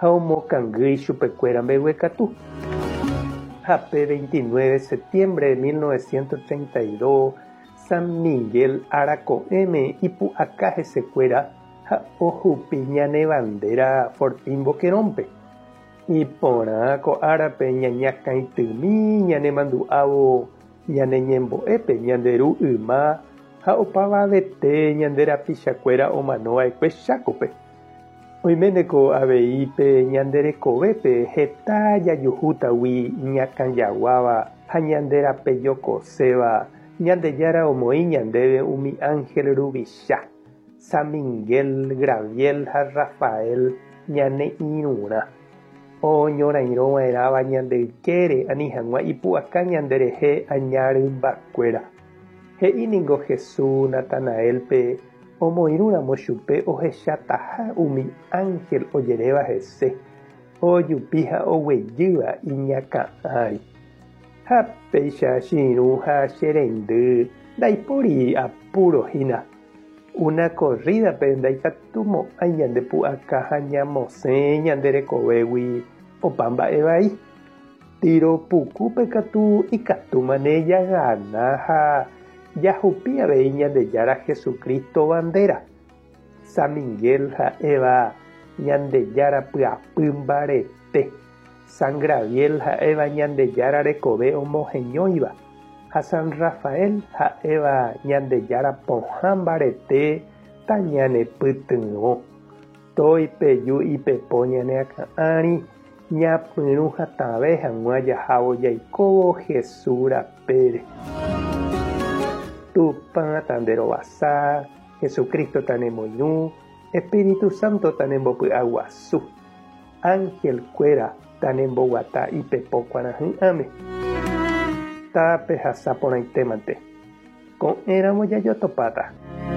Ha omokangy ichupekuéra mbeguekatu. Ha pe 29 septiembre de 1932, San Miguel ára ko'ẽme ipu'aka hesekuéra ha ohupi ñane bandera Fortín Boquerón-pe. Iporã ko árape ñañakãitymi ñanemandu'ávo ñane ñembo'épe ñande ru yma ha opavavete ñande rapichakuéra omanova'ekue Chákope. Oiméneko avei pe ñande rekovépe heta jajuhútagui iñakãjaguáva ha ñande rapejokoséva, Ñandejára omoĩ ñandéve umi ánhel ruvicha, San Miguel, Graviel ha Rafael ñane irũrã, oñorairõva'erãva ñande ykére ani hag̃ua ipu'aka ñanderehe aña rymbakuéra. He'i ningo Jesús Natanaélpe omoirũramo chupe ohechataha umi ánhel ojeréva hese, ojupi ha oguejýva iñakã ári. Ha péicha che irũ ha che reindy ndaipóri apúro hína. Una korrídape ndaikatumo'ãi ñande pu'aka ha ñamosẽ ñande rekovégui opa mba'e vai. Tiro pukúpe katu ikatúmane jagana ha jahupi avei Ñandejára Jesucristo bandera. San Miguel ha'éva Ñandejára pyapy mbarete, San Graviel ha'éva Ñandejára rekove omoheñóiva ha San Rafael ha'éva Ñandejára pohã mbarete tañanepytyvõ. Toipeju ipepo ñane akã ári ñapyrũ hatãve hag̃ua jahávo jaikóvo Jesús rapére. Tupã tanderovasa, Jesucristo tanemoirũ, Espíritu Santo tanembopy'aguasu, ángel kuéra tanemboguata ipepo kuarahy'ãme. Tapehasa porãitémante. Ko'ẽramo jajotopáta.